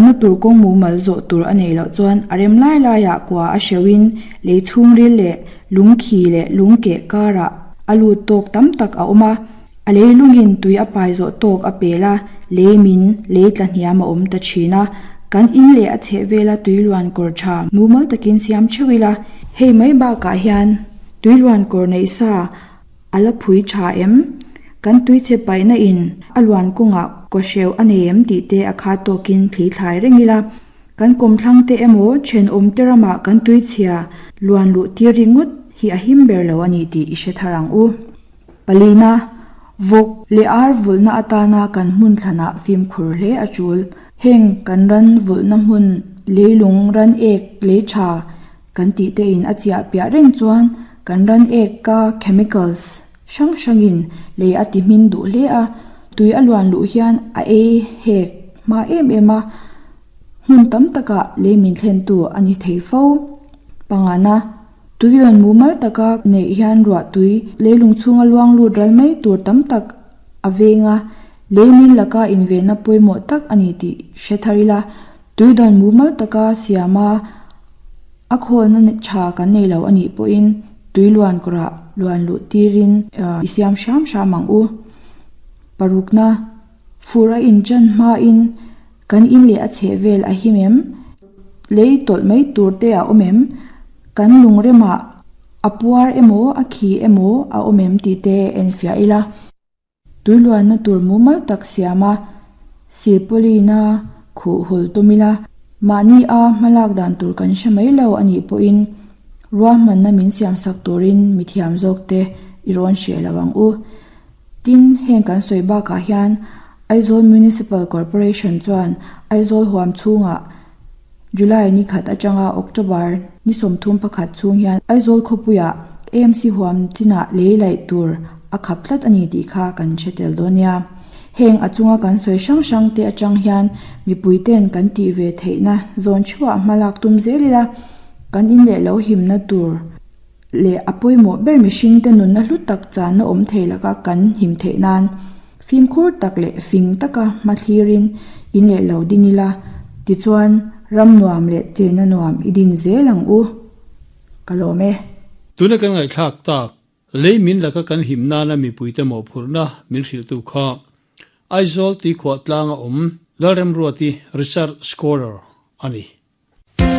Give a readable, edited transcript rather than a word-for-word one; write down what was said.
Na tur kawng mumal zawh tur a neih loh chuan a rem lai laiah kua a hreuhin lei chhungril leh lungkhi leh lungkeh karah a lut tawk tam tak a awm a. A lei lungin tui a pai zawh tawk a pel a, lei min, lei tla hniam a awm ta thin a. Kan in leh a chhehvela tui luan kawr tha mumal takin siam theuh ila. Hei mai bakah hian tui luan kawr neih sa A la phui tha em? Kan tuichhe paihna in a luan kawngah kawhreuh a nei em tih te a khat tawkin thli thlai reng ila. Kan kawmthlang te emaw thenawm te ramah kan tuichhia luan luh tir ringawt hi a him ber lo a ni tih i hre thar ang u. Palina, Vawk leh ar vulhna atana kan hmun thlanah fimkhur hle a tul. Heng kan ran vulhna hmun leilung ran ek lei tha Kan tih te in a chiah piah reng chuan kan ran ek ka chemicals hrang hrang in lei a ti hmin duh hle a, tui a luan luh hian a ei hek hma em em a, hmun tam takah lei min thlen tu a ni thei fo. Pangana, tui rawn mumal taka neih hian ruah tui leilung chhunga luang lut ral mai tur tam tak a veng a, lei min laka invenna pawimawh tak a ni tih hre thar ila, tui dawn mumal taka siam a, A khawlna tha kan nei lo a nih pawhin tui luan kawrah luan luh tirin i siam hram hram ang u. Parukna, fur a inchan hmain kan in leh a chheh vel a him em? Lei tawlh mai tur te a awm em? Kan lungremah a puar emaw a khi emaw a awm em tih te enfiah ila. Tuiluanna tur mumal tak siam a, silpawlina khuh hul tum ila, mahni a hmalak dan tur kan hre mai lo a nih pawhin ruahmanna min siamsak turin mithiam zawkte i rawn hreh lo ang u. Tin, heng kan sawi bakah hian Aizawl Municipal Corporation chuan Aizawl huam chhungah July ni khat atanga October ni 31 chhung hian Aizawl khawpuiah AMC huam chinah lei laih tur a khap tlat a ni tih kha kan hre tel dawn nia. Heng a chunga kan sawi hrang hrang te atang hian mipui ten kan tih ve theihna zawn theuhah hma lak tum zel ila, kan in leh lo himna tur leh a pawimawh ber mihringte nunna hlu tak channa awm thei laka kan him theih nan fimkhur tak leh fing taka hma thlirin in leh lo din ila, tichuan ram nuam leh chenna nuam i din zel ang u. Ka lawm e. Tuna kan ngaihthlak tak, lei min laka kan him nana mipuite mawhphurhna min hrilhtu kha Aizawl tuikhuah tlanga awm Lalremruati Research Scholar a ni.